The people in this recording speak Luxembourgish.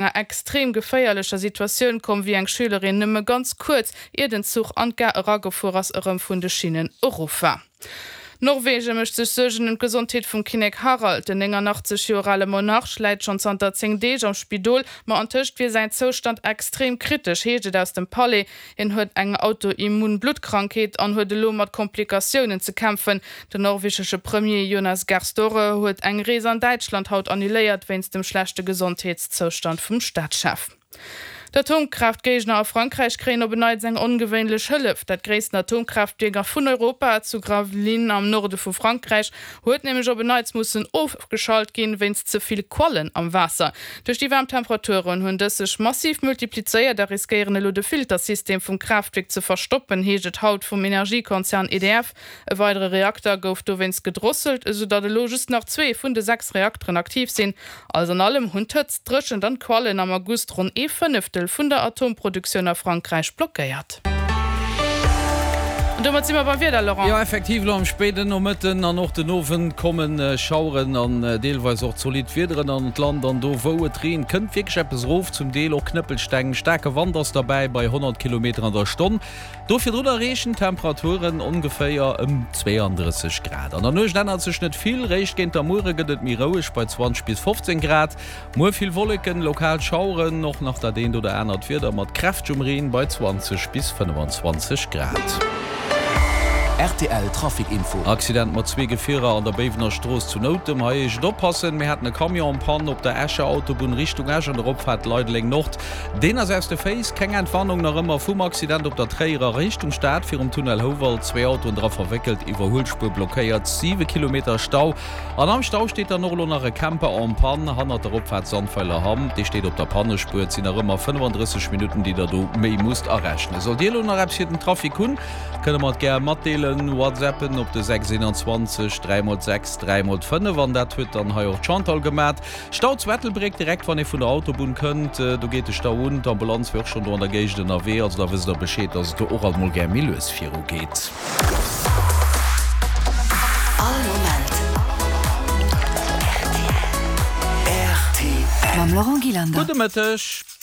Enger extrem geféierlecher Situatioun komm, wéi eng Schülerin nëmme ganz kuerz ier den Zuch an d'Gare eragefuer ass, erëm vun de Schinnen erof war. Norwegen mécht sech Suergen ëm d'Gesondheet vum Kinnek Harald. Den 89 Joer ale Monarch läit schonn zanter 10 Deeg am Spidol, ma antëscht wier säin Zoustand extrem kritesch, heescht et aus dem Palais. Hien huet eng autoimmun Bluttkrankheet an huet elo mat Komplikatiounen ze kämpfen. Den norwegesche Premier Jonas Gahr Store huet eng Rees an Däitschland haut annuléiert wéinst dem schlechte Gesondheetszoustand vum Staatschef. D'Atomkraaftgéigner a Frankräich kréien op en Neits eng ongewéinlech Hëllef. Dat gréissten Atomkraaftwierk a vun Europa, zu Gravelines am Norde vu Frankräich, huet nämlech op en Neits mussen ofgeschalt ginn, wéinst ze vill Quallen am Waasser. Duerch déi waarm Temperaturen hunn dës sech massiv multiplizéiert a riskéieren elo de Filtersystem vum Kraaftwierk ze verstoppen, heescht et haut vum Energiekonzern EDF. E weidere Reakter gouf dowéinst gedrosselt, esou datt elo just nach zwee vun de 6 Reakteren aktiv sinn. Alles an allem hunn d'Hëtzt, d'Dréchent an d'Quallen am August ronn ee Fënneftel vun der Atomproduktioun a Frankräich blockéiert. An domat si mer beim Wieder, Laurent. Jo, effektiv, elo am spéiden Nomëtten an och den Owend komme Schaueren an deelweis och zolidd Wiederen an d'Land. An do wou et reent, kënnt wierklech eppes erof, zum Deel och Knëppelsteng. Staarke Wand ass derbäi bei 100 Kilometer an der Stonn. Do virdrun erreechen d'Temperaturen ongeféier ëm 32 Grad. An der Nuecht ännert sech net vill, réischt géint der Muere gëtt et méi roueg bei 20 bis 15 Grad. Muer vill Wolleken, lokal Schaueren, och nach dat eent oder anert Wieder mat kräftegem Reen bei 20 bis 25 Grad. Rtl Trafic Info. Accident mat zwee Gefierer an der Béiwener Strooss zu Noutem. Hei eescht oppassen, mir haten e Camion en panne op der Escher Autobunn Richtung Esch an der Opfaart Leideleng Nord. Deen ass aus de Féiss. Keng Entwarnung nach ëmmer vum Accident op der Tréierer Richtung Stad virum Tunnel Houwald. Zwee Autoen dra verwéckelt, Iwwerhuelspuer blockéiert, 7 Kilometer Stau. An am Stau steet dann och elo nach e Camper en panne hannert der Opfaart Sandweiler-Hamm. Dee steet op der Pannespuer. Et sinn nach ëmmer 35 Minutten, déi der do méi musst arechnen. Sollt Dir elo nach eppes fir den Trafic hunn, kënne mer et gär matdeelen. Whatsappen op de 6 21 3 x 6 3 x 5. An dat huet dann hei och d'Chantal gemat. Stau zu Ettelbréck, direkt wann ee vun der Autobunn kënnt, do geet de Stau un. D'Ambulanz wier och schonn do an der Géigend ënnerwee, also da wësst der Bescheed, dass et do och alt mol gär méi lues viru geet. All Moment rtl. Mam Laurent Gillander. Gudde Mëtteg.